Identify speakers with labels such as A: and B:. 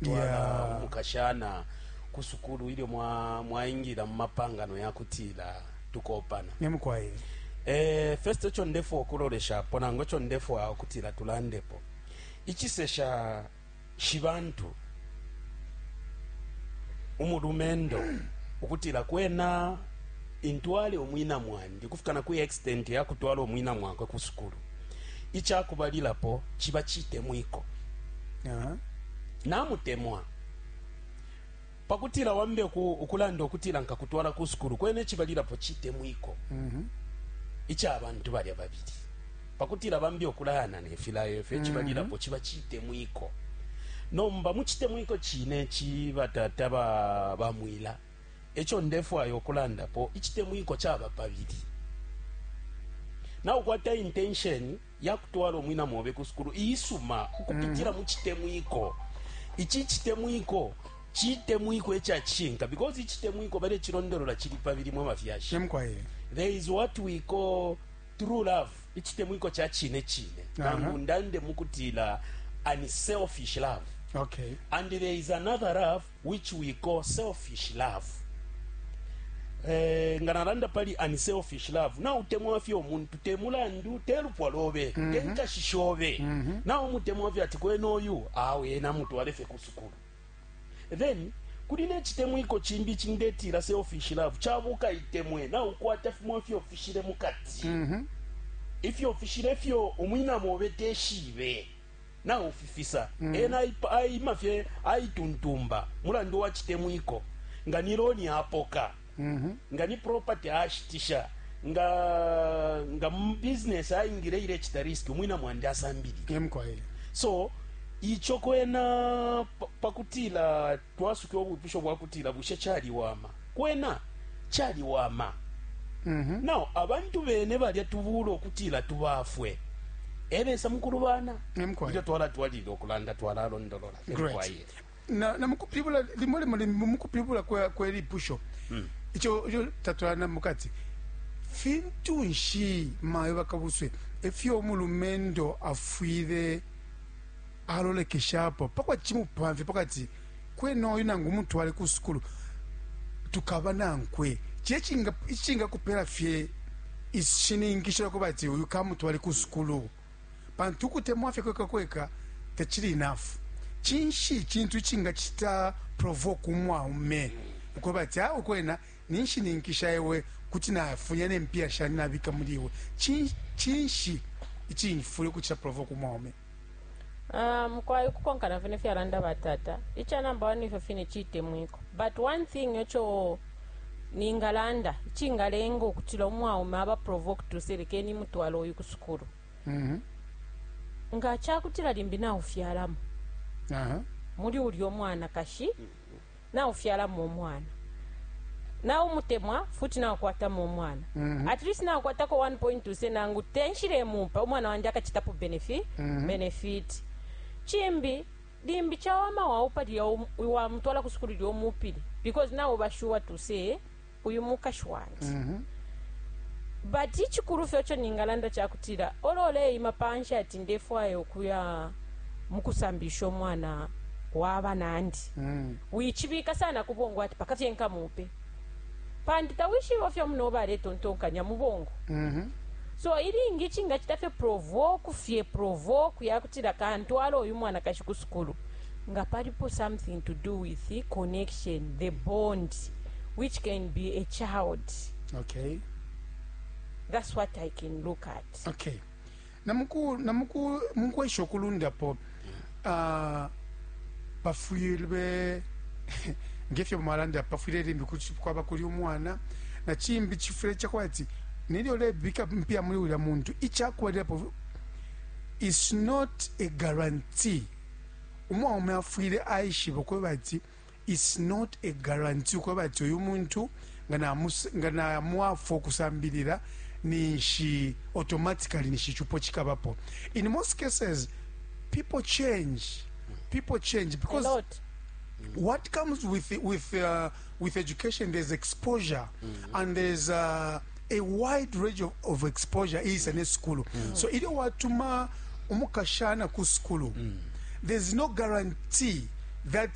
A: Twala umukashana ku sukulu ilyo mwa mwaingila mu mapangano ya kutila tukoopana.
B: Ne mukwai.
A: Eh, first ico ndefwaya ukuloleshapo nangu ico ndefwaya ukutila tulandepo icisesha shibantu umulumendo ukutila kwena intwale umwina mwandi ukufika na ku extent ya kutwala umwina mwakwe ku sukulu. Ica kubalilapo ciba citemwiko. Namutemwa. Pa kutila wambe ukulanda ukutila nkakutwala ku sukulu, kwena icibalilapo citemwiko ica bantu balya babili. Pa kutila bambe ukulayana ne filayo ifyo, icibalilapo ciba citemwiko. Nomba mu citemwiko cine ici batata ba bamwila. Eco ndefwaya ukulandapo, icitemwiko caba pabili. Naukwata intention yakutwala umwina mobe ku sukulu iisuma ukupitila mu citemwiko. Ici icitemwiko citemwiko ica cishinka because icitemwiko balecilondolola cili pabili mwe bafyashi. There is what we call true love, icitemwiko ca cine cine, nangu ndande mukutila unselfish love. And there is another love which we call selfish love. Eh, nga nalanda pali unselfish love, nautemwa fye umuntu te mulandu te lupwa lobe, te nkashi shobe, naumutemwa fye ati kwena uyu awe ena mutwale fye ku sukulu. Then kuli ne citemwiko cimbi ici ndetila selfish love, ca bukaitemwe, naukwata fimo ifyo ufishile mukati, ifyo ufishile ifyo umwina mobe teshibe. Naufifisa. Ena aima fye aituntumba mulandu wa citemwiko. Nga ni loni apoka, nga ni property ashitisha, nga nga mu business aingile ilecita risk, umwina mwandi asambilile.
B: Ee mukwai.
A: So ico kwena pa kutila twasuke ubwipusho bwa kutila bushe caliwama, kwena caliwama. Now abantu bene balya tubuula ukutila tubafwe ebesa mukulubana.
B: Emkwai.
A: Ilyo twalatwalilila ukulanda twalalondolola.
B: Great.
A: Emkwai.
B: Na, na mukupilibula limo limo limbi mukupilibula kwe, kwe lipusho ico ico tatwalanda mukati fintu nshi mayo bakabuswe efyo umulumendo afwile alolekeshapo pakwati cimupamfye pakati kwena uyu nangu umutwale ku sukulu tukaba nankwe ciye icingakupela fye ishininkisho lyakuba ati uyu kamutwale ku sukulu pantu ukutemwa fye kweka kweka tacili enough. Cinshi icintu icingacita provoke umwaume ukweba ati awe kwena ninshininkisha iwe kuti nafunya ne mpiya shandi nabika muli iwe? Cinshi icifwile ukucita provoke umwaume?
C: Ah, mukwai ukukonkana fye nefyalanda batata, ica number one ifyo fine citemwiko. But one thing ico ningalanda icingalenga ukutila umwaume aba provoked to say lekeni imutwale uyu ku sukulu, nga cakutila limbi naufyalamo muli ulya umwanakashi, naufyalamo umwana, naumutemwa futi naukwatamo umwana, at least naukwatako 1 point to say nangu tenshilemupa umwana wandi akacitapo benefit. Cimbi limbi cawama waupa lilya wamutwala ku sukulu lilya umupile, because nauba sure to say uyu mukashi wandi. But icikulu fye ico ningalanda cakutila olo uleima panshi ati ndefwaya ukuya mukusambilisha umwana wa banandi, wicibika sana ku bongo ati paka fye nkamupe, pantu tawishibe ifyo munobe aletontonkanya mu bongo. So ilingi icingacita fye provoke fye provoke yakutila kantwala uyu mwanakashi ku sukulu, nga palipo something to do with the connection, the bond, which can be a child. That's what I can look at.
B: Okay. Na muku, na muku, mukwesha ukulundapo, pafwile, ngefyo mwalanda, pafwile limbi kwaba kuli umwana, na cimbi cifwile cakwati nelyo ulebika mpya muli ulya muntu, icakubalilapo is not a guarantee. Umwaume afwile aishiba ukweba ati it's not a guarantee ukweba ati uyu muntu nga namwafwa ukusambilila ninshi automatically ninshi icupo cikabapo. In most cases people change, people change because
C: A lot.
B: what comes with education, there's exposure and there's a wide range of exposure is in school. So ilyo watuma umukashana ku school, there's no guarantee. That.